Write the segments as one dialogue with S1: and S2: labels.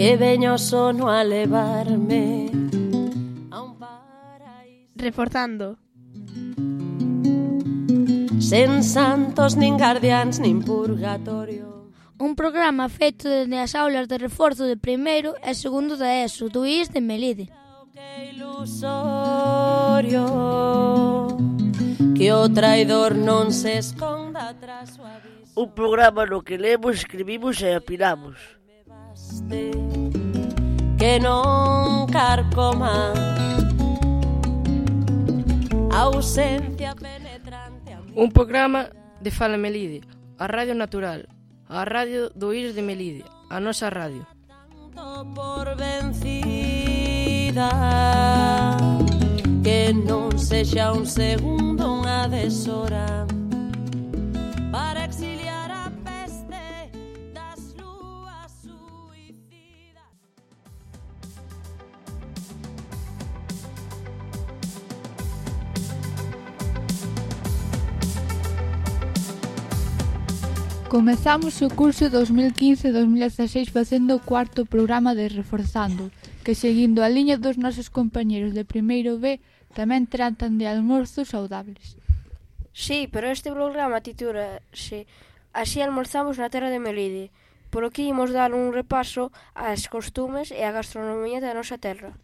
S1: que veño sono a levarme a un paraíso.
S2: Reforzando.
S1: Sen santos, nin guardiáns, nin purgatorio.
S3: Un programa feito desde as aulas de reforzo de primeiro e segundo da ESO, do IS de Melide.
S1: Que ilusorio, que o traidor non se esconda tras o aviso.
S4: Un programa no que lemos, escribimos e opinamos.
S1: Que non carcoma ausencia penetrante.
S5: Un programa de Fala Melide, a Radio Natural, a radio do IS de Melide, a nosa radio.
S1: Tanto por vencida, que non sexa un segundo unha deshora para exiliar a peste das lúas suicidas.
S6: Comezamos o curso 2015-2016 facendo o cuarto programa de Reforzando, que seguindo a liña dos nosos compañeros de primeiro B tamén tratan de almorzos saudables.
S2: Sí, pero este programa titúlase Así almorzamos na terra de Melide, por o que imos dar un repaso ás costumes e á gastronomía da nosa terra.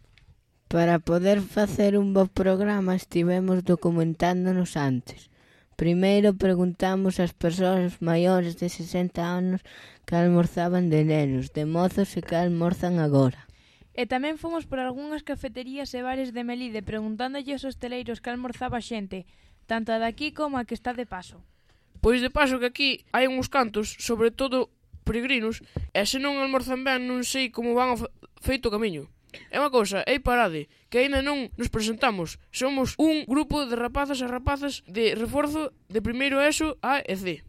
S7: Para poder facer un bo programa estivemos documentándonos antes. Primeiro preguntamos ás persoas maiores de 60 anos que almorzaban de nenos, de mozos e que almorzan agora.
S8: E tamén fomos por algunhas cafeterías e bares de Melide preguntándolle aos hosteleiros que almorzaba xente, tanto a daqui como a que está de paso.
S5: Pois de paso que aquí hai uns cantos, sobre todo peregrinos, e se non almorzan ben non sei como van feito o camiño. É unha cousa, ei parade, que aínda non nos presentamos. Somos un grupo de rapazas e rapazas de reforzo de primeiro ESO A e C.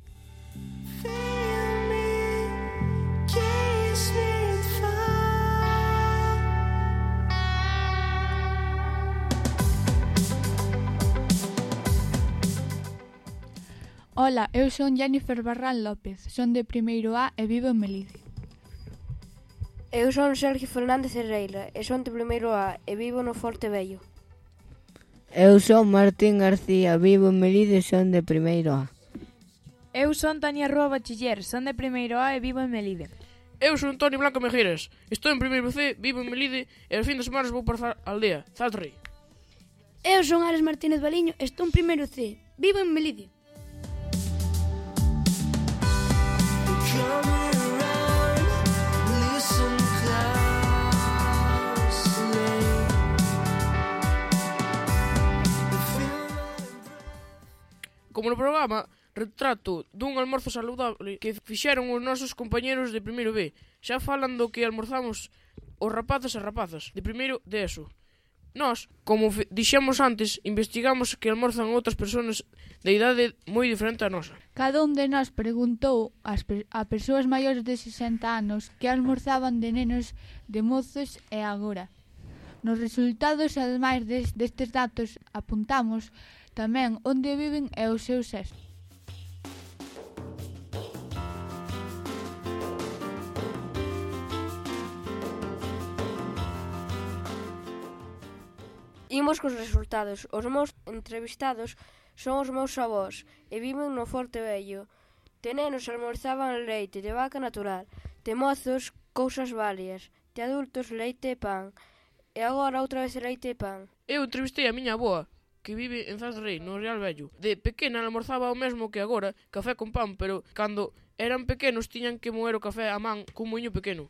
S6: Ola, eu son Jennifer Barral López, son de primeiro A e vivo en Melide.
S2: Eu son Sergio Fernández Herreira e son de primeiro A e vivo no Forte Vello.
S7: Eu son Martín García, vivo en Melide e son de primeiro A.
S8: Eu son Tania Roa Bachiller, son de primeiro A e vivo en Melide.
S5: Eu son Toni Blanco Mejiras, estou en primeiro C, vivo en Melide e os fin de semana vou para a aldea, Zaltrei.
S3: Eu son Ares Martínez Baliño, estou en primeiro C, vivo en Melide.
S5: Como no programa, retrato dun almorzo saludable que fixeron os nosos compañeros de primeiro B. Xa falan do que almorzamos os rapazas e rapazas de primeiro de ESO. Nós, como dixemos antes, investigamos que almorzan outras persoas de idade moi diferente a nosa.
S6: Cada un de nós preguntou a persoas maiores de 60 anos que almorzaban de nenos, de mozos e agora. Nos resultados, ademais destes datos, apuntamos tamén onde viven e o seu sexo.
S2: Imos cos resultados. Os meus entrevistados son os meus avós e viven no Forte Vello. De nenos almorzaban leite de vaca natural, de mozos cousas varias, de adultos leite e pan, e agora outra vez leite e pan.
S5: Eu entrevistei a miña avoa, que vive en Zaltrei, no Real Vello. De pequena almorzaba o mesmo que agora, café con pan, pero cando eran pequenos tiñan que moer o café a man cun moinho pequeno.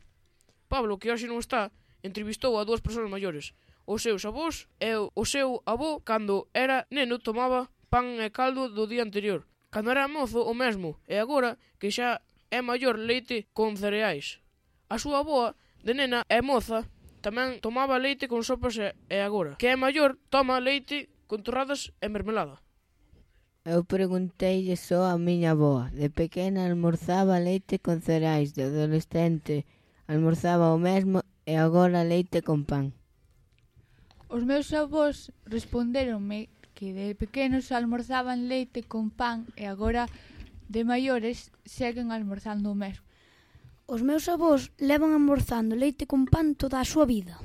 S5: Pablo, que hoxe non está, entrevistou a dúas persoas maiores, os seus avós e o seu avó cando era neno tomaba pan e caldo do día anterior. Cando era mozo o mesmo, e agora que xa é maior leite con cereais. A súa avoa de nena e moza tamén tomaba leite con sopas e agora, que é maior, toma leite con torradas e mermelada.
S7: Eu pregunteille só a miña avoa. De pequena almorzaba leite con cereais, de adolescente almorzaba o mesmo e agora leite con pan.
S6: Os meus avós respondéronme que de pequenos almorzaban leite con pan e agora de maiores seguen almorzando o mesmo.
S9: Os meus avós levan almorzando leite con pan toda a súa vida.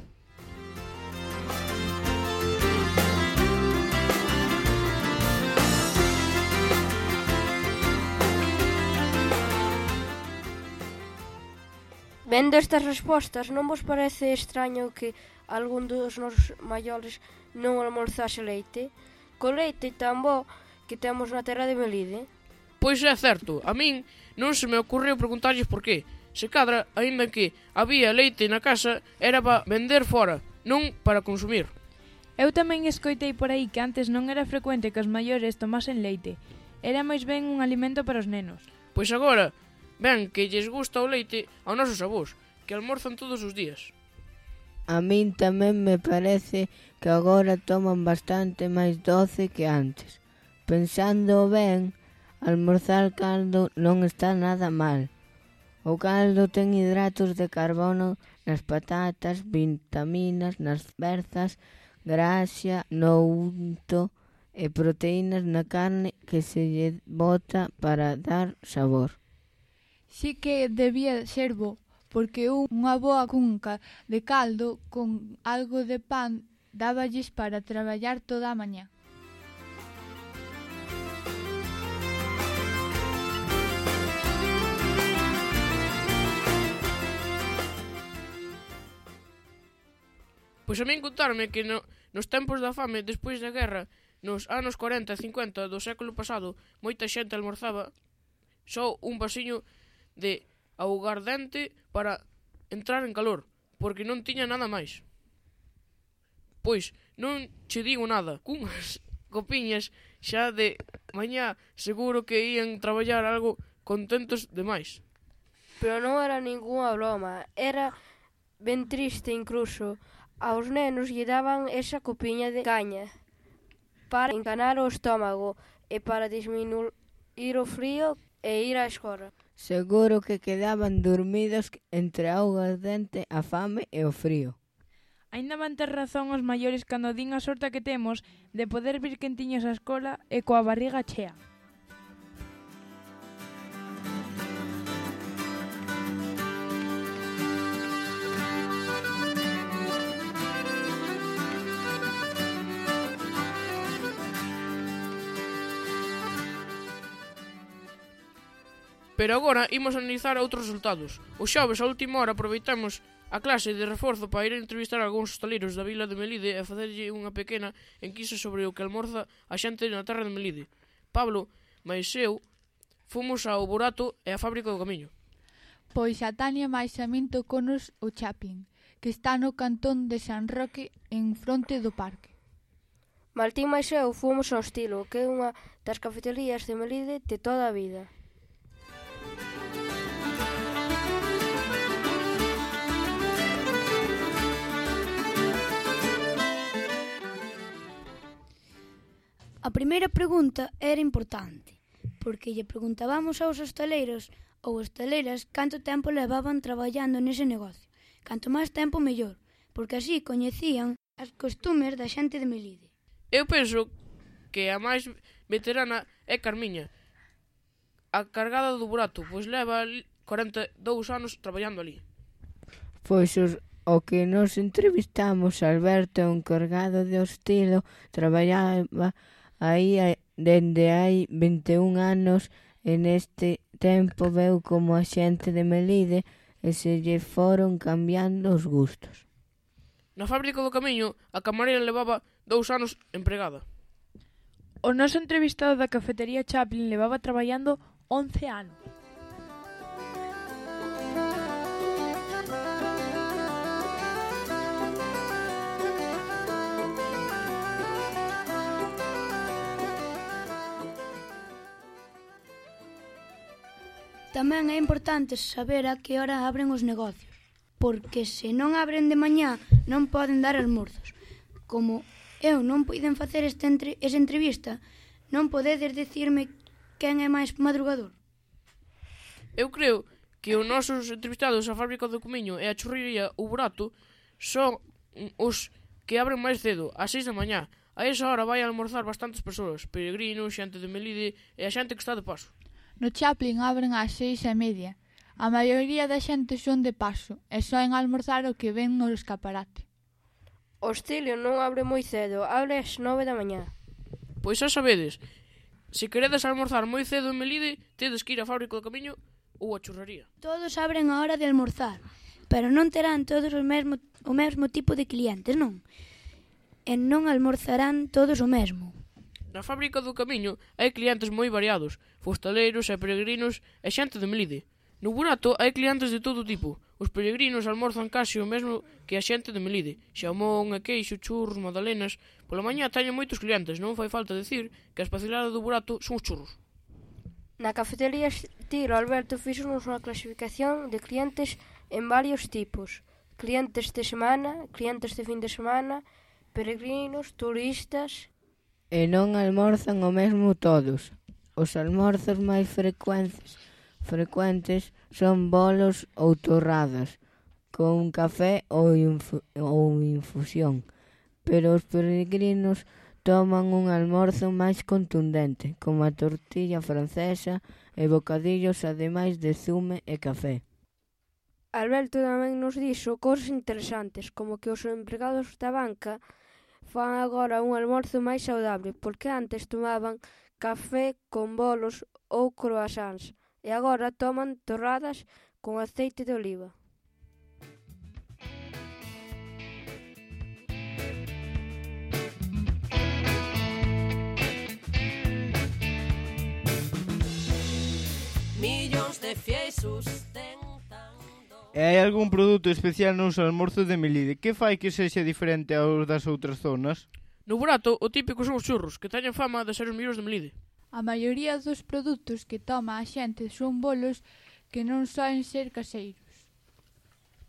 S2: Vendo estas respostas, non vos parece extraño que algún dos nosos maiores non almorzase leite? Co leite tan bo que temos na terra de Melide?
S5: Pois é certo, a min non se me ocorreu preguntarlles por qué. Se cadra, aínda que había leite na casa, era para vender fora, non para consumir.
S8: Eu tamén escoitei por aí que antes non era frecuente que os maiores tomasen leite. Era máis ben un alimento para os nenos.
S5: Pois agora, ben que lles gusta o leite aos nosos avós, que almorzan todos os días.
S7: A min tamén me parece que agora toman bastante máis doce que antes. Pensando ben, almorzar caldo non está nada mal. O caldo ten hidratos de carbono nas patatas, vitaminas nas berzas, graxa no unto e proteínas na carne que se lle bota para dar sabor.
S6: Sí que debía ser bo, porque unha boa cunca de caldo con algo de pan dáballes para traballar toda a mañá.
S5: Pois a min contarme que nos tempos da fame, despois da guerra, nos anos 40 e 50 do século pasado, moita xente almorzaba só un vasiño de augardente para entrar en calor, porque non tiña nada máis. Pois non che digo nada, cunhas copiñas xa de mañá seguro que ían traballar algo contentos demais.
S2: Pero non era ningunha broma, era ben triste incluso. Aos nenos lle daban esa copiña de caña para enganar o estómago e para disminuir o frío e ir á escola.
S7: Seguro que quedaban dormidos entre a augardente, a fame e o frío.
S8: Aínda van ter razón os maiores cando din a sorte que temos de poder vir quentiños á escola e coa barriga chea.
S5: Pero agora imos analizar outros resultados. O xoves a última hora aproveitamos a clase de reforzo para ir a entrevistar a algúns hostaleiros da vila de Melide e facerlle unha pequena enquisa sobre o que almorza a xente na terra de Melide. Pablo, máis eu, fomos ao Burato e á Fábrica do Camiño.
S6: Pois a Tania máis a min tocounos o Chaplin, que está no cantón de San Roque en fronte do parque.
S2: Martín máis eu fomos ao Estilo, que é unha das cafeterías de Melide de toda a vida.
S9: A primeira pregunta era importante, porque lle preguntábamos aos hostaleiros ou hostaleiras canto tempo levaban traballando nese negocio. Canto máis tempo, mellor, porque así coñecían as costumes da xente de Melide.
S5: Eu penso que a máis veterana é Carmiña, a cargada do Burato, pois leva 42 anos traballando ali.
S7: Pois o que nos entrevistamos, Alberto, o encargado de Estilo, traballaba aí dende hai 21 anos e neste tempo veu como a xente de Melide e se lle foron cambiando os gustos.
S5: Na Fábrica do Camiño, a camareira levaba 2 anos empregada.
S8: O noso entrevistado da cafetería Chaplin levaba traballando 11 anos.
S9: Tamén é importante saber a que hora abren os negocios, porque se non abren de mañá non poden dar almorzos. Como eu non puiden facer esa entrevista, non podedes dicirme quen é máis madrugador.
S5: Eu creo que os nosos entrevistados á Fábrica do Camiño e a churrería O Burato son os que abren máis cedo, ás 6 da mañá. A esa hora vai a almorzar bastantes persoas, peregrinos, xente de Melide e a xente que está de paso.
S6: No Chaplin abren ás 6:30. A maioría da xente son de paso e soen almorzar o que ven no escaparate.
S2: O Hostilio non abre moi cedo, abre ás 9 da mañá.
S5: Pois xa sabedes, se queredes almorzar moi cedo en Melide, tedes que ir á Fábrica do Camiño ou á churrería.
S9: Todos abren a hora de almorzar, pero non terán todos o mesmo tipo de clientes, non? E non almorzarán todos o mesmo.
S5: Na Fábrica do Camiño hai clientes moi variados, fostaleiros e peregrinos e xente de Melide. No Burato hai clientes de todo tipo. Os peregrinos almorzan case o mesmo que a xente de Melide. Xamón, queixo, churros, magdalenas. Pola mañá teñen moitos clientes, non fai falta decir que a especialidade do Burato son os churros.
S2: Na cafetería Estilo Alberto fíxonos unha clasificación de clientes en varios tipos. Clientes de semana, clientes de fin de semana, peregrinos, turistas.
S7: E non almorzan o mesmo todos. Os almorzos máis frecuentes son bolos ou torradas, con café ou infusión. Pero os peregrinos toman un almorzo máis contundente, como a tortilla francesa e bocadillos ademais de zume e café.
S2: Alberto tamén nos dixo cousas interesantes, como que os empregados da banca fan agora un almorzo máis saudable, porque antes tomaban café con bolos ou croissants, e agora toman torradas con aceite de oliva.
S1: Millóns de fiéis sustentando.
S10: E hai algún produto especial nos almorzos de Melide? Que fai que sexa diferente aos das outras zonas?
S5: No Burato, o típico son os churros, que teñen fama de ser os mellores de Melide.
S6: A maioría dos produtos que toma a xente son bolos que non soen ser caseiros.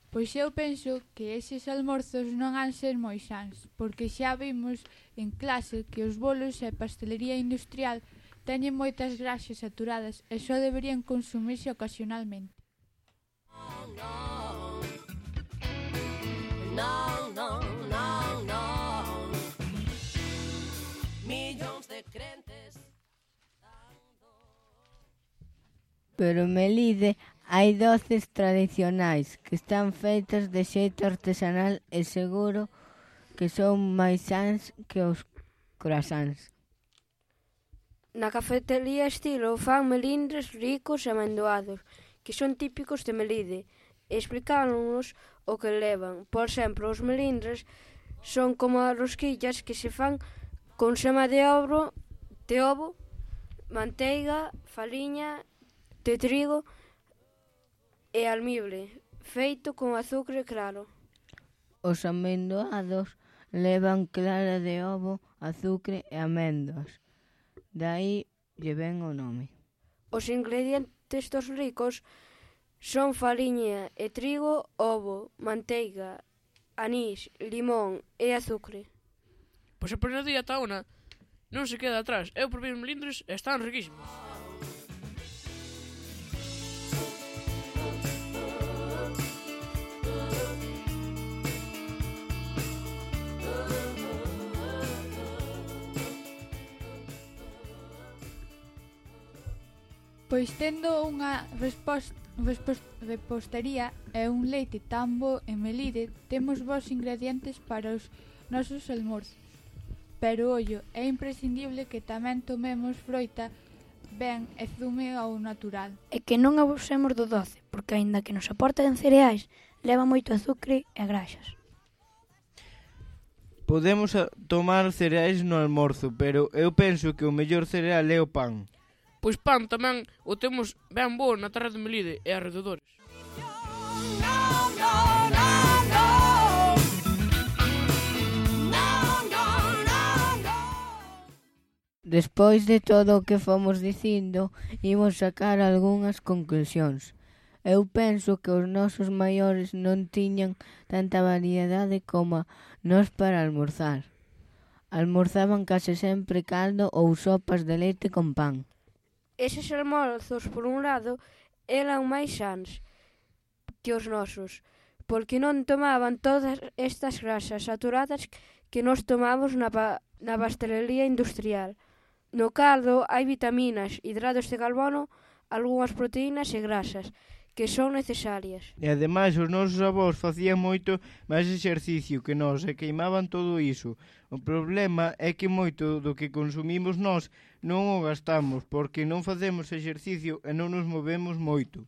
S6: Pois eu penso que eses almorzos non han ser moi sans, porque xa vimos en clase que os bolos e pastelería industrial teñen moitas graxas saturadas e só deberían consumirse ocasionalmente.
S1: Millóns de crentes.
S7: Pero en Melide hai doces tradicionais que están feitas de xeito artesanal e seguro que son máis sans que os croissants.
S2: Na cafetería Estilo fan melindres ricos e amendoados, que son típicos de Melide. Explicáronos o que levan. Por exemplo, os melindres son como as rosquillas que se fan con xema de ovo, manteiga, fariña de trigo e almible, feito con azúcar claro.
S7: Os amendoados levan clara de ovo, azúcar e améndoas. Daí lle ven o nome.
S2: Os ingredientes dos ricos son fariña e trigo, ovo, manteiga, anís, limón e azúcar.
S5: Pois a panadería Taona non se queda atrás. Eu probei os melindres e están riquísimos.
S6: Pois tendo unha repostería e un leite tan bo en Melide, temos bons ingredientes para os nosos almorzos. Pero, ollo, é imprescindible que tamén tomemos froita ben e zume ao natural.
S9: E que non abusemos do doce, porque aínda que nos aporten cereais, leva moito azúcar e graxas.
S10: Podemos tomar cereais no almorzo, pero eu penso que o mellor cereal é o pan.
S5: Pois pan tamén o temos ben bo na terra de Melide e arredores.
S7: Despois de todo o que fomos dicindo, imos sacar algunhas conclusións. Eu penso que os nosos maiores non tiñan tanta variedade como nós para almorzar. Almorzaban case sempre caldo ou sopas de leite con pan.
S2: Eses almorzos, por un lado, eran máis sans que os nosos, porque non tomaban todas estas grasas saturadas que nos tomamos na pastelería industrial. No caldo hai vitaminas, hidratos de carbono, algunhas proteínas e grasas, que son necesarias.
S10: E ademais os nosos avós facían moito máis exercicio que nós e queimaban todo iso. O problema é que moito do que consumimos nós non o gastamos porque non facemos exercicio e non nos movemos moito.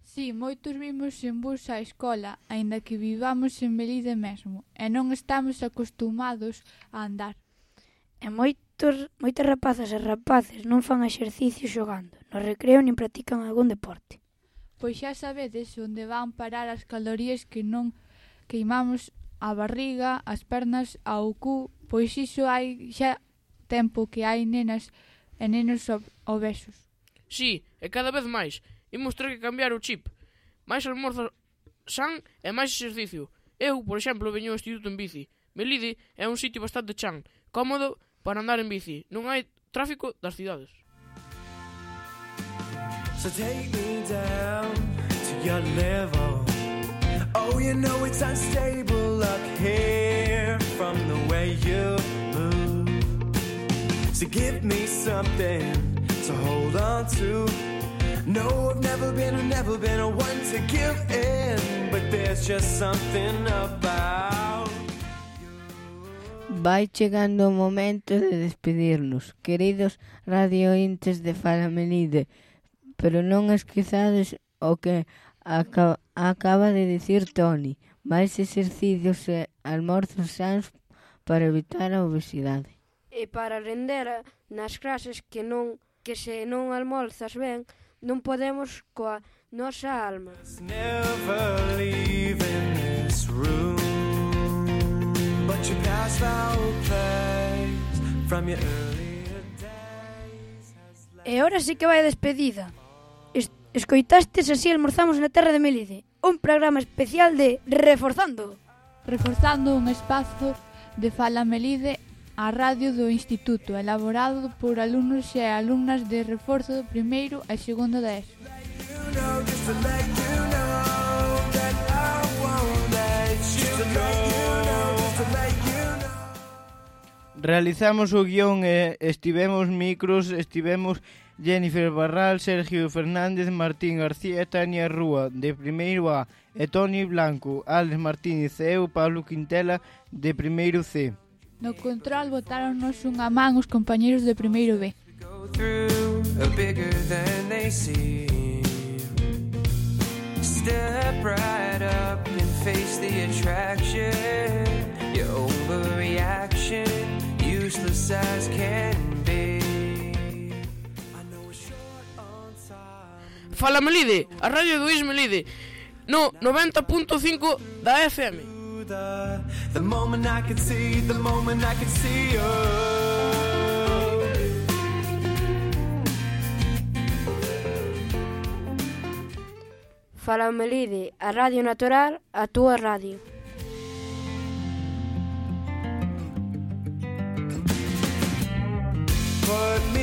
S6: Si, moitos vimos en bus á escola, aínda que vivamos en Melide mesmo, e non estamos acostumados a andar.
S9: E moitas rapazas e rapaces non fan exercicio xogando, no recreo nin practican algún deporte.
S6: Pois xa sabedes onde van parar as calorías que non queimamos a barriga, as pernas, ao cu, pois iso hai xa tempo que hai nenas e nenos obesos.
S5: Si, e cada vez máis. Imos ter que cambiar o chip. Mais almorzo san e máis exercicio. Eu, por exemplo, veño ao instituto en bici. Melide é un sitio bastante chan, cómodo para andar en bici. Non hai tráfico das cidades.
S11: So take me down to your level. Oh, you know it's unstable up here from the way you move. So give me something to hold on to. No, I've never been a one to give in, but there's just something about you.
S7: Vai chegando o momento de despedirnos, queridos radiointes de Fala Melide, pero non esquezades o que acaba de dicir Toni, máis exercicios e almorzos sans para evitar a obesidade.
S2: E para render nas clases que se non almorzas ben, non podemos coa nosa alma.
S11: Never leaving this room, but you passed our place from your earlier days.
S9: E ora sí que vai a despedida. Escoitastes Así almorzamos na terra de Melide, un programa especial de Reforzando.
S6: Reforzando un espazo de Fala Melide, a radio do Instituto, elaborado por alumnos e alumnas de reforzo do primeiro e segundo da ESO.
S10: Realizamos o guión e estivemos Jennifer Barral, Sergio Fernández, Martín García e Tania Rúa, de primeiro A, e Toni Blanco, Alex Martínez e eu, Pablo Quintela, de primeiro C.
S6: No control botáronnos unha man os compañeros de primeiro B.
S11: Step right up and face the attraction. Your overreaction, useless as can be.
S5: Fala Melide, a radio do Is Melide, no 90.5 da FM.
S11: The moment I could see you.
S2: Fala Melide, a radio natural, a túa radio.
S11: Put me